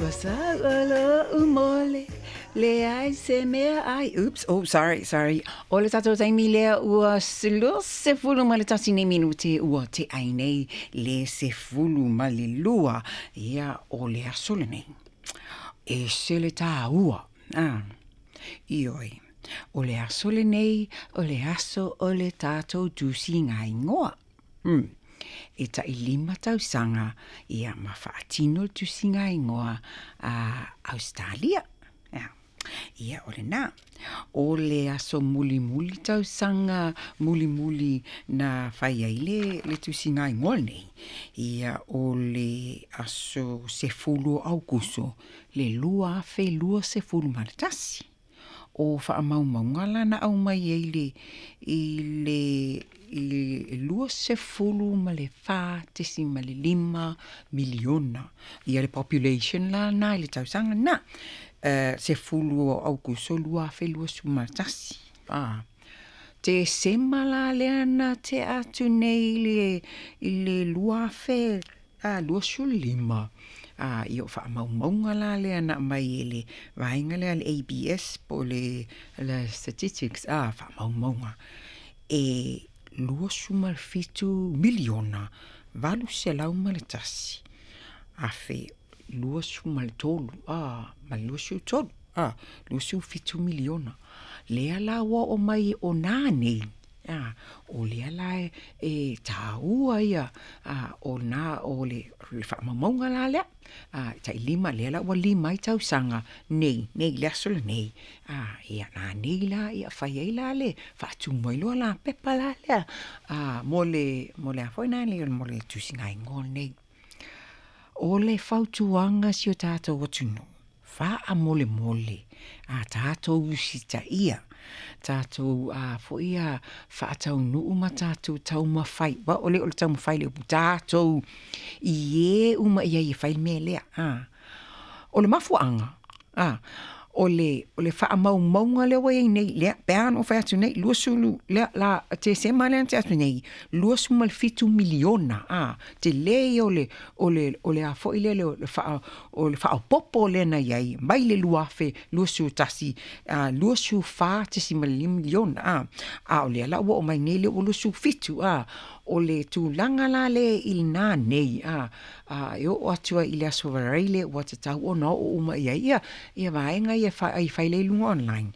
Ua sauʻo loʻu mole, leai se mea ʻai. Oops, oh, sorry, sorry. ʻO le tatou taimi lea ua 21 nei minute ua teʻa ai nei le 12 ia o le aso lenei. Ese le tāua. Ah, ioe. ʻO le aso lenei, o le aso o le tatou tusiga igoa. E taʻi 5 tausaga ia ma faatino le tusiga igoa a Ausetalia. Ia, o lena. O le aso mulimuli tausaga mulimuli na fai ai le, le tusiga igoa lenei, ia o le aso 10 o Aukuso le 2021. O faamaumauga la na aumai ai le i le i le 24.5 miliona ia le population la na i le tausaga na 10 o Aukuso 2021. A Tesema la lea na tea atu nei i le i le 2025, a ia o faamaumauga la lea na aumai e le vaega lea a le ABS po o le le Statistics a faamaumauga e 27 miliona 801 afe 23 a ma le 23 a 27 miliona lea la ua oo mai o nā nei a o lea la e tāua ia a o nā o le le faamaumauga la lea a taʻi 5 lea la ua 5 ai tausaga nei nei le aso lenei a ia nā nei la ia fai ai la le faatumu ai loa la pepa la lea a mo le mo le a foi nā le mo le tusiga igoa lenei. O le fautuaga si o tatou atunuu, faamolemole a tatou usitaia, tatou a foi a faataunuu ma tatou taumafai, aua o le o le taumafai le upu tatou i e uma i ai e fai le mea lea. A, o le mafuaaga, a, o le, o le faamaumauga lea ua i ai nei, lea, pe a ona ou fai atu nei, 20, lea, la, Tesema lea na tea atu nei, 27 miliona, a, tele ia o le, o le, o le a foi lea, o le faa, o le faaopoopo lea na i ai, mai le 2021, a, 24.5 miliona, a, a o lea la ua oo mai nei lea ua 27, a, o le tulaga la lea i lena nei, a, a e oo atu ai i le Aso Faraile ua tatau ona oo uma i ai ia, ia vaega ia e fai lea i luga online.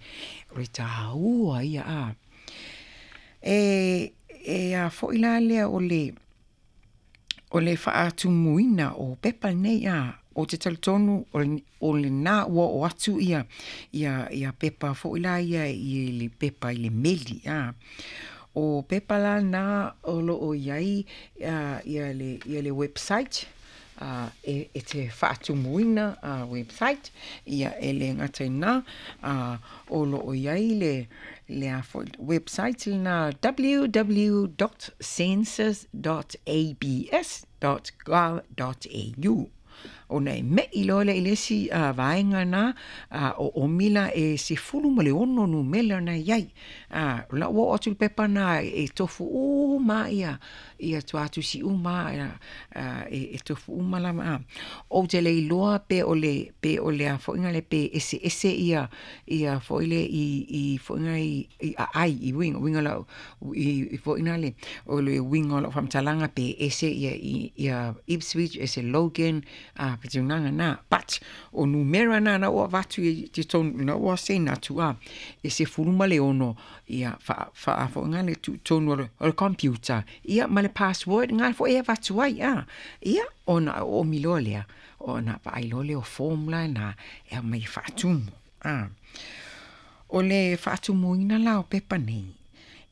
O le tāua ia, a. E, e a foi la lea o le, o le faatumuina o pepa nei, a, o te talitonu o le, o lena ua oo atu ia, ia, ia pepa foi la ia i le pepa i le meli, a. O pepa la na o loo i ai ia le, ia le website e, e te faatumuina website ia e le gata i na o loo i ai le, le a foi website lena www.census.abs.gov.au. Ona e meʻi loa lea i le isi vaega na o ʻomi la e 16 numela na i ai. A, o la ua oo atu le pepa na e tofu uma ia ia tuatusi uma a, e, e tofu uma lava a. Ou te le iloa pe o le pe o le a foi le pe eseese ia ia foi le i i foi i i aai i uiga uiga lau i foi na le o le uiga o lau faamatalaga pe ese ia ia Ipswich ese Logan a pe tulaga na but o numera na na ua avatu i totonu na ua send atu a e 16 ia faa faa foi na le tuutonu o le, o le computer ia ma le password nga foi e avatu ai a ia ona oomi loa lea ona vaai loa lea o form la na e aumai e faatumu a. O le faatumuina la o pepa nei,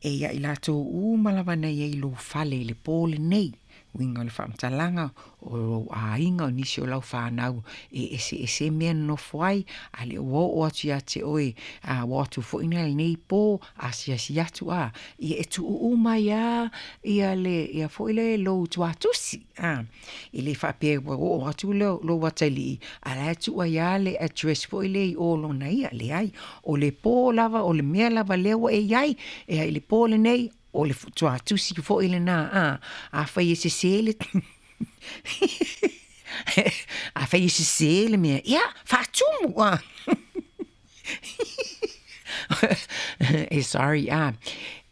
e ia i latou uma lava na i ai lou fale i le pō lenei, uiga o le faamatalaga o lou aiga o nisi o lau fanau e eseese mea nonofo ai, a le ua oo atu ia te oe, a ua atu foi na lenei pō, asiasi atu a, ia e tuu uma ai lava ia le ia foi le lou tuatusi, a. E le faapea ua oo atu lou atalii, a la e tuu ai lava le address foi lea i o lona ia, leai. O le pō lava, o le mea lava lea ua e i ai, e ai le pō lenei, o le tuatusi foi lena, a. Afai e sese le Afai e sesē le mea, ia, faatumu, a. E sorry, a.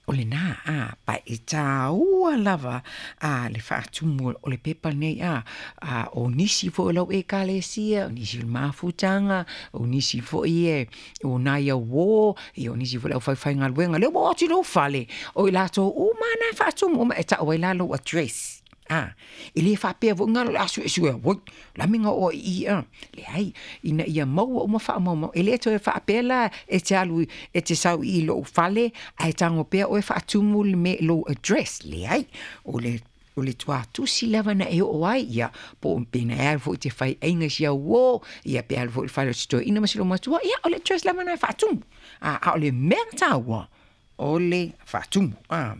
O lenā, a, pa e tāua lava a le faatumu o le pepa nei, a, a o nisi foi o lau ekalesia, o nisi o le mafutaga, o nisi foi e o nai auō, ia o nisi foi o le aufaifaigaluega, lea ua oo atu i lou fale, o i latou uma lava na e faatumu uma, e tau ai la lou address. A, e le faapea foi galo o le a suesue, oi, o le a le mea na oo ai i i, a. Leai, ina ia maua uma faamaumauga, e le toe faapea la e te alu e te sau i lou fale ae tago pea oe faatumu le mea i lou address, leai. O le o le tuatusi lava na e oo ai, ia, po o pe na e alu foi e te fai aiga i si au uō, ia pe alu foi i le fale o si toeaina ma si olomatua, ia, o le address lava na e faatumu. A, a o le mea taua, o le faatumu. A,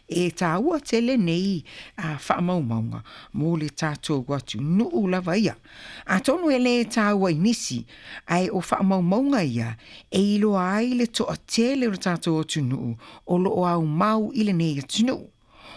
e tāua tele nei faamaumauga mo le tatou atunuu lava ia. Atonu e lē tāua i nisi, ae o faamaumauga ia e iloa ai le toatele o le tatou atunuu o lo o aumau i lenei atunuu.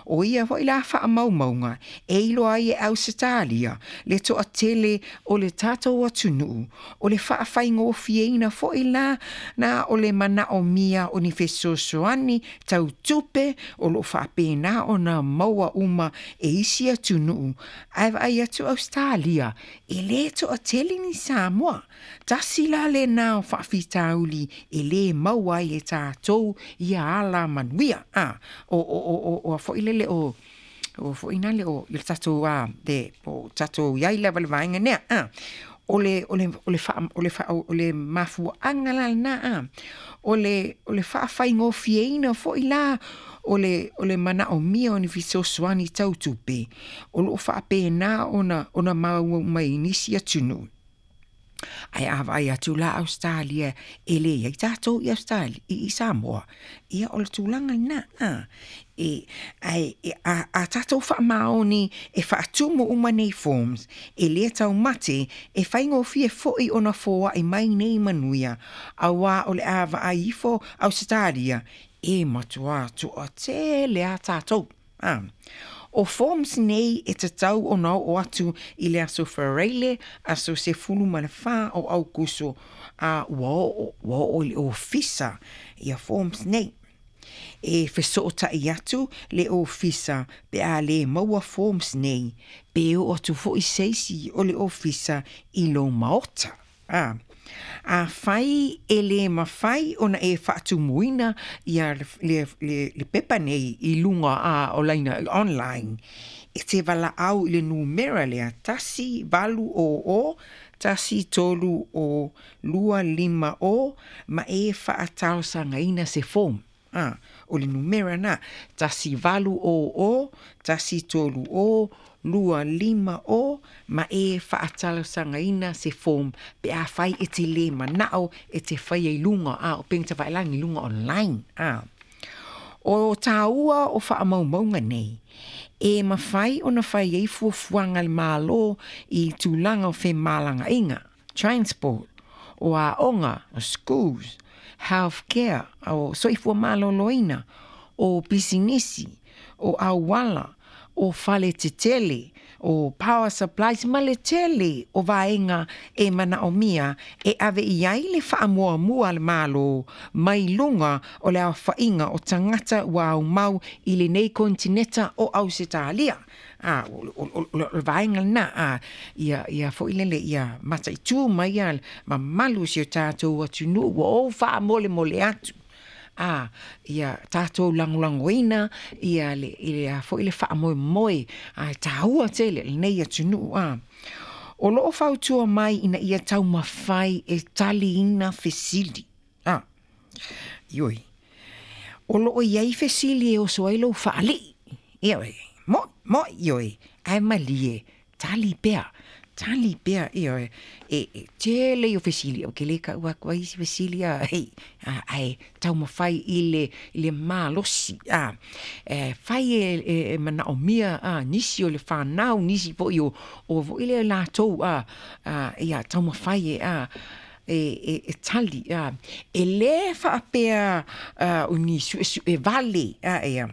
ʻO ia foi la faamaumauga e iloa ai e Ausetalia le toatele o le tatou atunuu, o le faafaigofieina foi la na o le manaomia o ni fesoasoani tau tupe o lo o faapena ona maua uma e isi atunuu, ae vaai atu Ausetalia e lē toatele ni Samoa. Tasi la lenā o faafitauli e lē maua ai e tatou ia ala manuia, a, o, o, o, o, o a foi lele o, o foi nale o le tatou a, le, o tatou i ai lava i le vaega lea, a. O le, o le, o le faa, o le faa, o le mafuaaga la lenā, a, o le, o le faafaigofieina foi la o le, o le manaomia o ni fesoasoani tau tupe, o lo o faapena ona, ona maua mai i nisi atunuu. Ae a vaai atu la Ausetalia e leai tatou i Ausetalia, i Samoa, ia o le tulaga lena, a, e, ae a, a tatou faamaoni e faatumu uma nei forms, e le taumate, e faigofie foi ona foai mai nei manuia, auā o le a vaai ifo Ausetalia, e matuā toatele a tatou. A, o forms nei e tatau ona oo atu i le aso Faraile, aso 14 o Aukuso, a ua oo, ua oo i le ofisa ia forms nei. E fesootai atu le ofisa pe a le maua forms nei, pe oo atu foi se isi o le ofisa i lou maota. A, afai e lē mafai ona e faatumuina ia le, le, le, le pepa nei i luga a o laina online, e te valaau i le numera lea 1800 130 250 ma e faatalosagaina se form. A, o le numera na, 1800 130 250 ma e faatalosagaina se form pe afai e te lē manao e te faia i luga, a, o upega tafailagi i luga online, a. O tāua o faamaumauga nei, e mafai ona fai ai fuafuaga a le Malo i tulaga o femalagaaiga, transport, o aoga, o schools, health care, o soifua maloloina, o pisinisi, o auala, o fale tetele, o power supplies ma le tele o vaega e manaomia e ave i ai le faamuamua a le Malo mai luga o le aofaiga o tagata ua aumau i lenei konetineta o Ausetalia. A, o le vaega lenā, a, ia, ia foi lele, ia mataitū mai ia mamalu o si o tatou atunuu ua ou faamolemole atu, a, ia tatou lagolagoina ia le, ia foi le faamoemoe, a, e tāua tele lenei atunuu, a. O lo o fautua mai ina ia taumafai e taliina fesili, a. Ioe. O lo o i ai fesili e oso ai lou faalii. Ioe. Moʻi, moʻi, ioe. Ae malie, tali pea, tali pea, ioe. E, e tele ia o fesili, ou te le kau atu ai isi fesili a, hei, a, ae taumafai i le, i le malosi, a. E fai e, e, e manaomia, a, nisi o le whanau, nisi foi o, o foi lea latou, a, a, ia taumafai e, a, e, e, e tali, a. E lē faapea, a, o ni suesue vale, a, ia.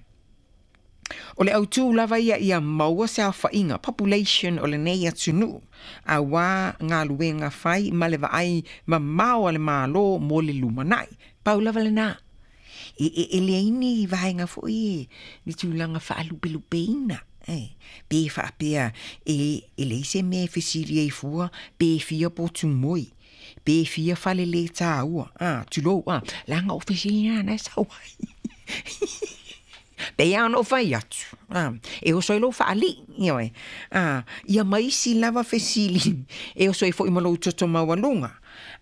O le autū lava ia ia maua se aofaiga, population, o lenei atunuu, auā galuega fai ma le vaai mamao a le Malo mo le lumanai. Pau lava lenā. E, e, e leai ni vaega foi e, ni tulaga faalupelupeina, e, pe faapea e, e leai se mea e fesili ai fua pe fia potu moi, pe fia fale le taua, a, tulou, a, leaga o fesili na na e sau ai. Pei lava ona ou fai atu, a, e oso ai lou faalii, ioe, a, ia ma isi lava fesili e oso ai foi ma lou toto maualuga,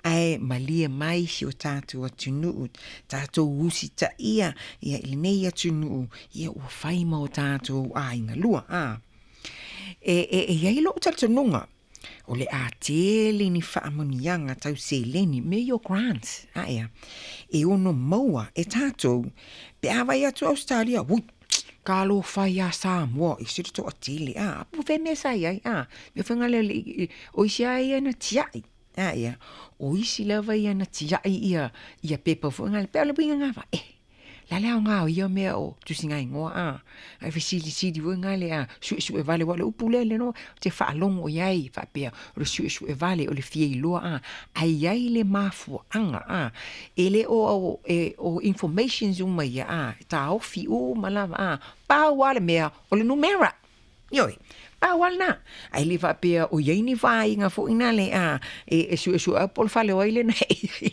ae malie mai si o tatou atunuu, tatou usitaia ia i lenei atunuu, ia ua fai ma o tatou aiga lua, a. E, e, e i ai lou talitonuga, o le a tele ni faamanuiaga tau seleni, mea ia o grants, a ea, e ono maua e tatou pe a vaai atu Ausetalia, ui, talofa e ia Samoa, e ese le toatele, a, po o fea mea sa i ai, a, mea foi na le, o isi lava ia na tiai, a ea, o isi lava ia na tiai ia, ia pepa foi na, pei o le uiga na, eh, le a le aoga o ia mea o tusigaigoa a ae fesilisili foi na le a suesue vale aua o le upu lea lea ou te faalogo i ai faapea o le suesue vale o le fia iloa a ae i ai le mafuaaga a e le o e, o informations uma ia a e taofi uma lava a pau lava le mea o le numera. Ioe, pau lava lena. Ae le faapea o i ai ni vaaiga foi na le a e, e suesue au po o le fale o ai lena e i ai.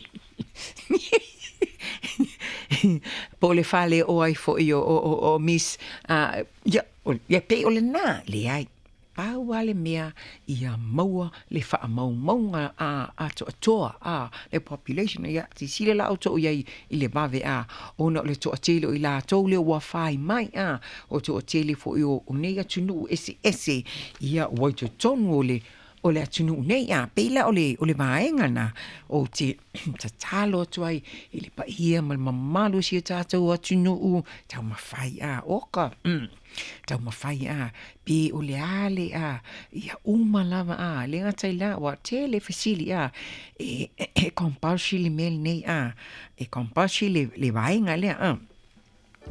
Po o le fale o ai foi o, o, o, o Miss, uh, ia, ia pei o lena, leai. Pau lava le mea ia maua le faamaumauga a atoatoa a le population ia silasila la outou i ai i le vave a ona o le toatele o i latou lea ua fai mai a o toatele foi o, o nei atunuu eseese ia ua i totonu o le o le atunuu nei a pei la o le o le vaega na ou te tatalo atu ai i le paia ma le mamalu o si o tatou atunuu taumafai a oka mm, taumafai a pe o le a le a ia uma lava a le gata i la ua tele fesili a e, e compulsory le mea lenei a e compulsory le, le vaega lea a.